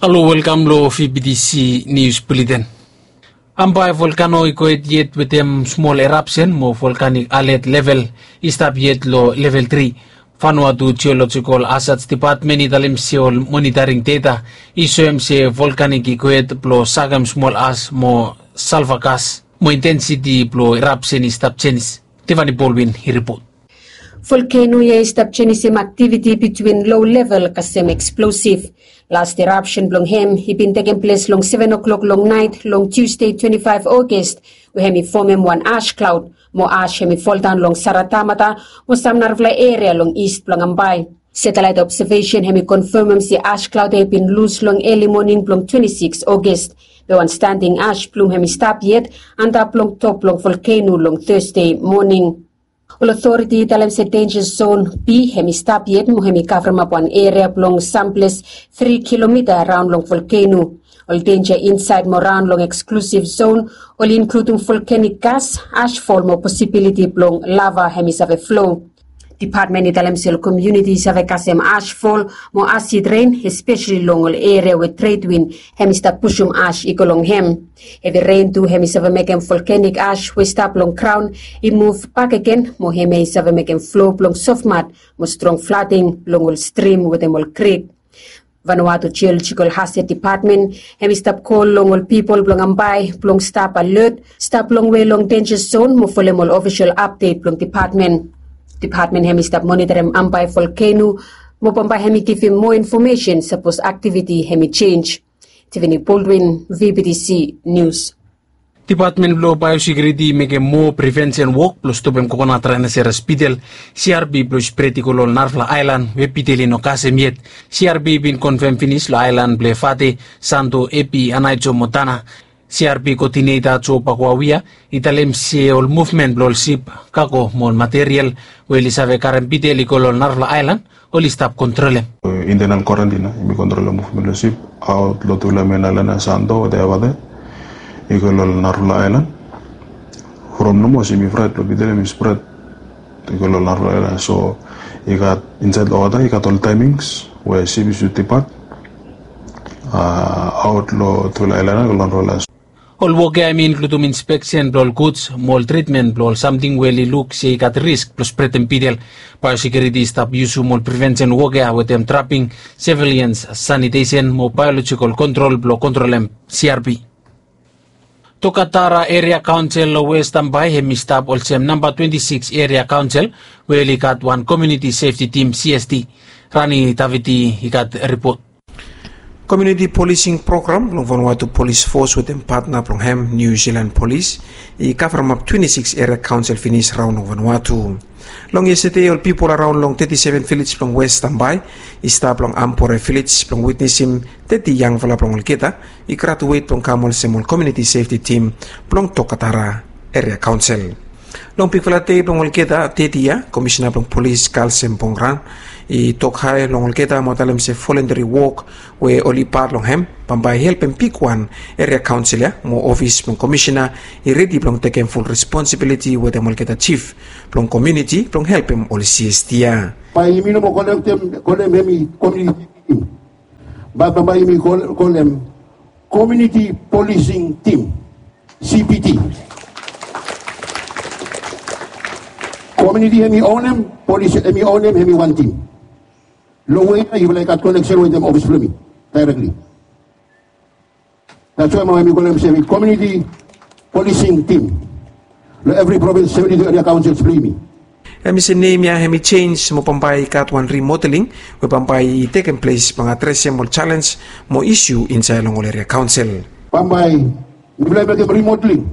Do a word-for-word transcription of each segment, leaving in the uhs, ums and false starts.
Halo, welkam long V B T C News Bulletin. Ambae volkano i go hed yet wetem smol erapsen mo volkanik alet level i stap yet long level tri. Vanuatu Geological Hazards Department i talem se ol monitoring data i soem se volkanik i go hed blong sakem smol as mo salva gas mo intensiti blong erapsen i stap jenis. Tiffany Baldwin i ripot. Volkeno ya i stap jenisim aktiviti bitwin low level kasem eksplosif. Las erapsen blong hem i bin tekem ples long seven o'clock long naet long Tuesday twenty five August, we hem i fomem wan ash klaod mo ash hem i foldaon long Saratamata mo sam narafala eria long ist blong Ambae. Satellite observation hem i konfemem se ash klaod ya i bin lus long eli moning blong twenty six August, be wan standing ash blum hem i stap yet antap long top blong volkeno long Thursday moning. Ol otoriti i talem se denja zon B hem i stap yet mo hem i kavremap wan eria blong samples tri kilomita raon long volkeno. Ol denja insaed mo raon long eksklusif zon oli inkludim volkanik gas, ashfol mo posibiliti blong lava hem i save flo. Dipatmen i talem se ol komuniti i save kasem ashfol mo asid ren, espeseli long ol eria we tredwin hem i stap pusum ash i go long hem. Hevi ren tu hem i save mekem volkanik ash we i stap long graon i muv bakegen mo hemia i save mekem flo blong sofmat mo strong flading long ol strim wetem ol krik. Vanuatu Geological Hazard Department hem i stap kol long ol pipol blong Ambae blong stap alot, stap longwe long denja zon mo folem ol ofisol apdet blong dipatmen. Dipatmen hem i stap monitorem Ambae volkeno mo bambae hem i givim moa infomesen sapos aktiviti hem i jenj. Tiffany Baldwin, V B T C News. Dipatmen blong baeosekiuriti i mekem moa prevensen wok blong stopem kokonat raenaseras bidel, C R B, blong spred i go long ol narafala aelan we bidel i no kasem yet. C R B i bin konfem finis long aelan blong Efate, Santo, Epi, Anaijo mo Tana. C R B koodineta Jo Bakuawia i talem se ol muvmen blong ol sip, kago mo ol material we oli save karem bidel i go long ol narafala aelan oli stap kontrolem. Intenal kwarantin ya yumi kontrolem muvmen blong sip aot long tufala men aelan ya, Santo wetem Efate, i go long ol narafala aelan. From nomo se yumi fraet blong bidel hem i spred i go long ol narafala aelan. So i gat insaed long wota i gat ol taemings we sip i sud dipat aot long tufala aelan ya go long narafala aelan. Ol wok ya hem i inkludim inspeksen blong ol guds mo ol tritmen blong ol samting we oli luk se i gat risk blong spredem bidel. Baeosekiuriti i stap yusum ol prevensen wok ya wetem traping, sevilians sanitesen mo baeolojikal kontrol blong kontrolem C R B. Tokatara Eria Kaonsel long West Ambae hem i stap olsem namba twenti sikis Eria Kaonsel we oli gat wan komuniti sefti tim, C S T. Rani Davidi i gat ripot. Komuniti polising program blong Vanuatu Polis Fos wetem patna blong hem, Niu Silan Polis, i kavremap twenti sikis eria kaonsel finis raon long Vanuatu. Long yestade ol pipol araon long teti seven vilej blong West Ambae i stap long Ampore Vilej blong witnesim teti yangfala blong olgeta i gratuet blong kam olsem ol komuniti sefti tim blong Tokatara Eria Kaonsel. Long bigfala dei blong olgeta teti ya, Komisena blong Polis Kalsem Bongran i tok hae long olgeta mo talem se volunteri wok we oli pat long hem bambae i helpem bigwan eria kaonsel ya mo ofis blong komisena i redi blong tekem ful responsibiliti wetem olgeta jif blong komuniti blong helpem ol C S T ya. Bae yumi no moa kolem hem i komuniti tim, bae bambae yumi kolem komuniti polising tim, C P T. Komuniti hem i onem, polis hem i onem, hem i wan tim. Long we ya yufala i gat koneksen wetem ofis blong mi daerekli. That's why mi kolem se hem i komuniti polising tim long evri provins, seventi tu eria kaonsels blong yumi. Hem i se nem ya hem i jenj mo bambae i gat wan rimodeling we bambae i tekem ples blong adresem ol jalenj mo isu insaed long ol eria kaonsel. Bambae mifala i mekem rimodeling.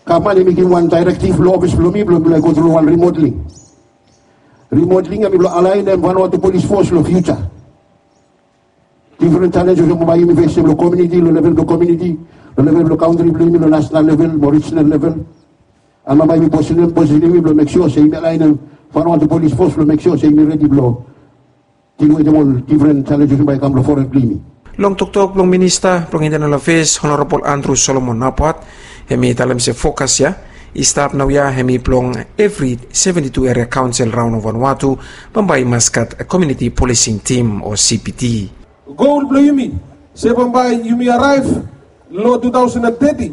Gavman hem i givim wan daerektiv long ofis blong mi blong mifala i gotru long wan rimodeling. Rimodeling ya mifala alaenem Vanuatu Polis Fos long fiuja. Difren jalenjes we bambae yumi fesem long komuniti, long level blong komuniti, long level blong kantri blong yumi, long nasenal level mo rijinal level. Bambae yumi posisenem, posisenem blong mek sua se yumi alaenem Vanuatu Polis Fos blong mek sua se yumi redi blong dil wetem ol difren jalenjes we bambae i kam long foren blong yumi. Long toktok blong Minista blong Intenal Afeas, Honorabol Andrew Solomon Napat, hem i talem se fokas ya i stap naoia hem i blong evri seventi tu eria kaonsel raon long Vanuatu bambae i mas gat komuniti polising tim o C P T. Gol blong yumi se bambae yumi araev long two thousand and thirty,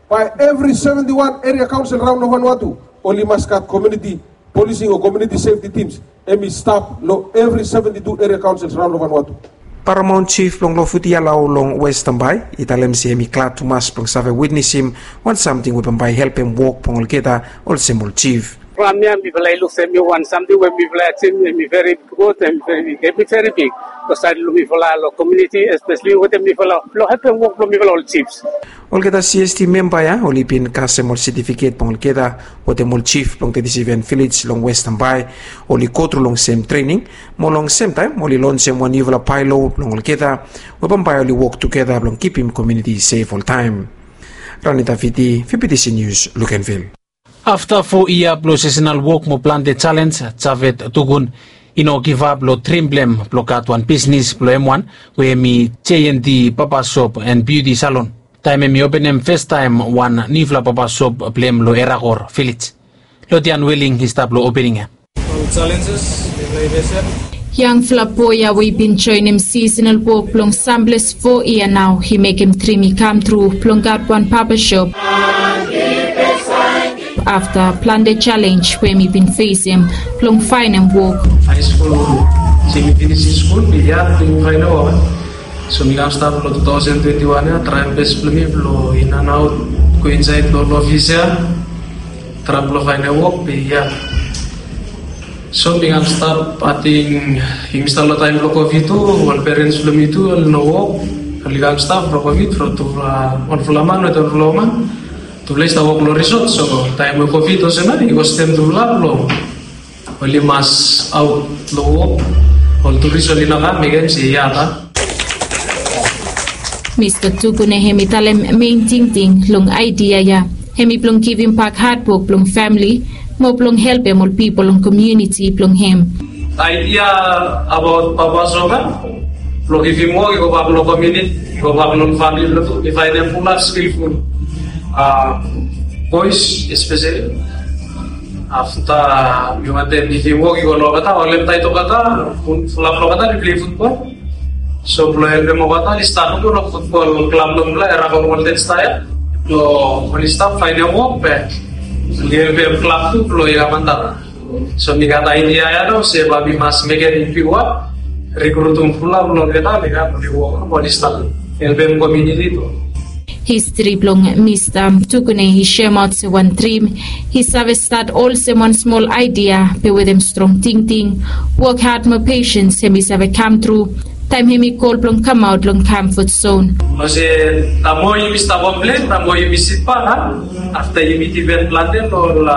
bae evri seventy one eria kaonsel raon long Vanuatu oli mas gat komuniti polising o komuniti sefti tims. Hem i stap long evri seventy two eria kaonsels raon long Vanuatu. Paramaon jif blong Lofuti Alau long West Tambai i talem se hem i glad tumas blong save witnesim wan samting we bambae i helpem wok blong olgeta olsem ol jif. From ya mifala i luk se hem i wan samting we mifala ya tim hem i veri gud, hem i veri big, hem i veri big. Long saed blong mifala long komuniti, espeseli wetem mifala blong helpem wok blong mifala ol jifs. Olgeta C S T memba ya oli bin kasem ol setifiket blong olgeta wetem ol jif blong teti seven vilej long West Tambai. Oli gotru long sem trening mo long semtaem oli lonsem wan niufala baelo blong olgeta we bambae oli wok tugeta blong kipim komuniti sef oltaem. Rani Davidi, V B T C News, Luganville. Afta fo yia blong sesenal wok mo plante jalenj, Javed Tugun i no givap long drim blong hem blong gat wan bisnis blong hem wan we hem i J and D Barber Shop and Beauty Salon. Taem hem i openem festaem wan niufala barber shop blong hem long Erakor Vilej. Lodian Weling i stap long opening ya. Ol jalenjes mifala i fesem. Yangfala boe ya we i bin joenem sisenal wok blong samples fo yia nao i mekem drim i kamtru blong gat wan barber shop. Afta plante jalenj we hem i bin fesem blong faenem wok. Haeskul, se mi finisim skul mi yat blong faenem wok. So mi kam stap long two thousand twenty one ya, traem bes blong mi blong in and out, go insaed long ol ofis ya, traem blong faenem wok be ya. So mi kam stap, ating yumi stap long taem blong Covid tu, ol perens blong mi tu oli no wok. Oli kam stap blong Covid from tufala, wanfala man wetem wanfala woman. Tufala i stap wok long risot, so taem we Covid olsem ya i kostem tufala blong oli mas aot long wok. Ol turis oli no kam, mekem se yat ya. Mista Tukune hem i talem mein tingting long aedia ya hem i blong givim bak hadwok blong famili mo blong helpem ol pipol long komuniti blong hem. Aedia abaot barber shop ya blong givim wok i go bak long komuniti, i go bak long famili blong tu, i faenem fulap skilful boes espeseli. Afta mi wantem givim wok i go long olgeta, olgeta i toketa, fulap long olgeta i plei futbol. So blong helpem olgeta oli stat nomo long futbol klab blong mifala, Erakor Golden Star ya. Blong oli stap faenem wok be oli helpem klab tu blong i kam antap. So mi gat aedia ya nao se bae mi mas mekem bigwan, rikrutum fulap long olgeta oli kam, oli wok, oli stap helpem komuniti tu. Histri blong Mista Tukune i semaot se wan drim i save stat olsem wan smol aedia be wetem strong tingting, wok had mo pesens hem i save kamtru taem hem i gol blong kamaot long kamfot zon. Olsem, taem moa yumi stap komplen, taem moa yumi sitbak, a? Afta yumi dipen plante long ol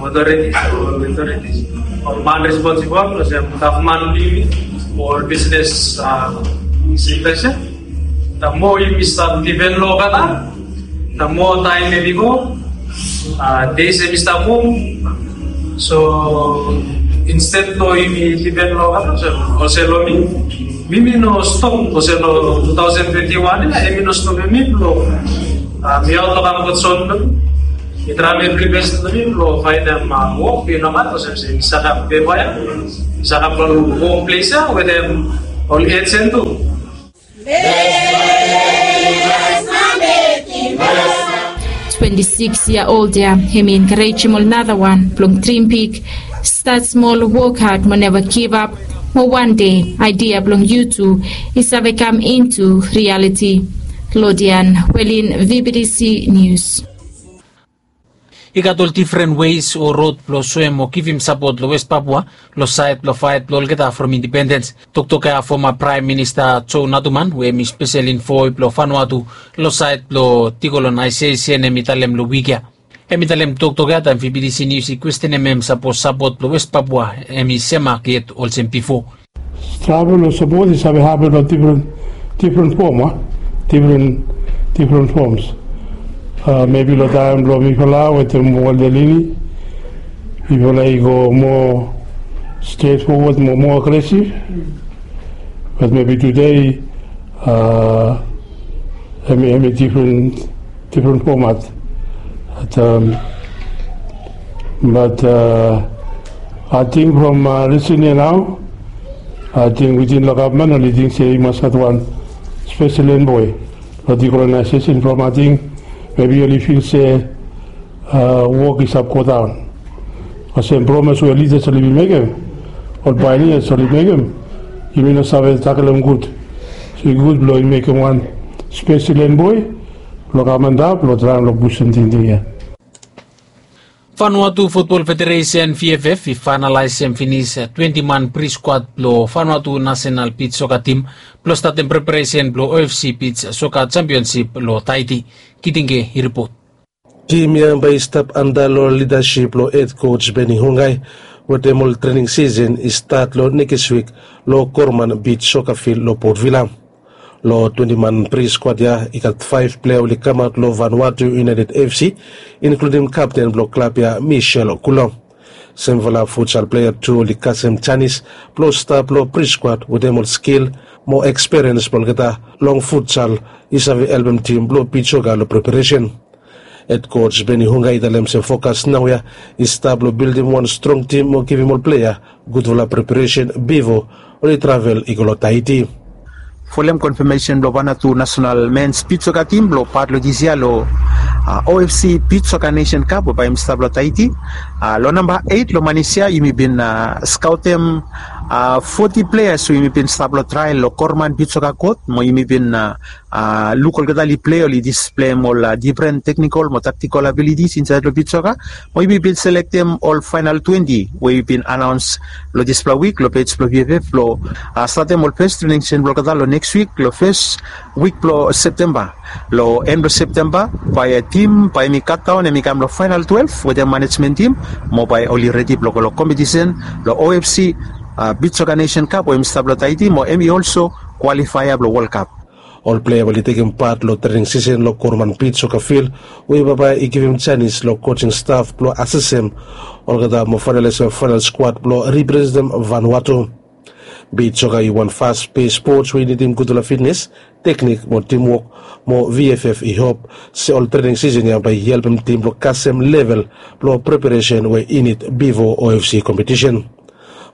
otoritis, ol otoritis, ol man responsibol, olsem gavman blong yumi, ol bisnes, a, signifesen. Taem moa yumi stap dipen long olgeta, taem moa taem hem i go, a, dei hem i stap go. So insted blong yumi dipen long olgeta, olsem, olsem long mi, mi mi no stop, olsem long two thousand twenty one ya, hem i no stopem mi blong, a, mi aot long kamfot zon blong mi. Mi traem evri bes blong mi blong faenem wok, be i no matta olsem se mi save gat pepa ya, mi save gat long wok ples ya wetem ol ejen tu. Twenti sikis yia old ya, hem i enkarejem ol nara wan blong drim big, stat smol, wok had mo neva givap, mo wan dei aedia blong yu tu i save kam intu rialiti. Lodian Welin, V B T C Nius. I gat ol difren wes o rod blong soem o givim sapot long West Papua long saed blong faet blong olgeta from indipendens. Toktok ya foma Praem Minista Joe Naduman, we hem i spesel envoe blong Vanuatu long saed blong dikolonaesesen, hem i talem long wik ya. Hem i talem toktok ya taem V B T C Nius i kwestenem hem sapos sapot blong West Papua hem i semak yet olsem bifo. Travel o sapot i save hapen long difren, difren fom, a? Difren, difren foms. A, mebi long taem blong mifala wetem Walter Lini, mifala i go moa stret fowod, moa, moa agresif. Bat mebi tude, a, hem i, hem i difren, difren fomat. Bat, a, bat, a, ating from, a, lisin ya nao, Ating witin long gavman oli ting se i mas gat wan spesel enboi long dikolonaisesen from ating mebi oli fil se wok i save godaon. Olsem promes we lidas oli bin mekem, ol painias oli mekem, yumi no save taklem gud. So i gud blong i mekem wan spesel enboi blong kam antap blong traem long pusum tingting ya. Vanuatu Futbol Federesen, V F F, i faenalaesem finis twenti man priskwad blong Vanuatu nasenal bits soka tim blong statem preparesen blong O F C bits soka jampionsip long Taiti. Kitinge i ripot. Tim ya bae i stap anda long lidasip blong hed koj Beni Hungai, wetem ol trening sisen i stat long nekis wik long Korman bits soka fil long Port Vila. Long twenti man priskwad ya i gat faef plea oli kamaot long Vanuatu United F C, inkludim kapten blong klab ya, Michel Kulo. Semfala futsal plea tu oli kasem janis blong stap long priskwad wetem ol skil mo ekspiriens blong olgeta long futsal i save helpem tim blong bits soka long preparesen. Hed koj Beni Hungai i talem se fokas naoia i stap long bildim wan strong tim mo givim ol plea gudfala preparesen bifo oli travel i go long Taiti. Folem konfamesen blong Vanuatu nasenal mens bits soka tim blong pat long disia long O F C bits soka nesen kap we bae yumi stap long Taiti. Long namba eit long manis ya yumi bin skaotem foti pleas we yumi bin stap long trael long Korman bits soka kot mo yumi bin luk olgeta oli plei, oli displeim ol difren teknikol mo taktikol abilitis insaed long bits soka. Mo yumi bin selektem ol faenal twenti we yumi bin anaons long dispela wik long pej blong V F F blong statem ol fes trening sesen blong olgeta long neks wik long fes wik blong Septemba. Long en blong Septemba bae tim bae yumi katdaon, hemi kam long faenal twelef wetem manejmen tim, mo bae oli redi blong go long kompetisen long O F C bits soka nesen kap we yumi stap long Taiti, mo hemi olso kwalifaea blong Wol Kap. Ol plea we oli tekem pat long trening sisen long Korman bits soka fil we bambae i givim janis long kojing staf blong asesem olgeta mo faenalaesem faenal skwad blong representem Vanuatu. Bits soka i wan fas pes spots we i nidim gudfala fitnes, teknik mo timwok, mo V F F i hop se ol trening sisen ya bae i helpem tim blong kasem level blong preparesen we i nid bifo O F C kompetisen.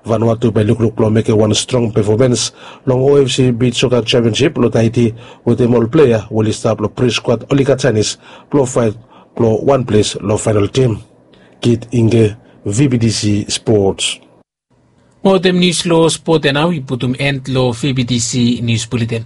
Vanuatu bae i lukluk blong mekem wan strong pefomens long O F C bits soka jampionsip long Taiti wetem ol plea we oli stap long priskwad oli gat janis blong faet blong wan ples long faenal tim. Kit Inge, V B T C Spots. Mo wetem nius long spot ya nao i putum en long V B T C nius buleten.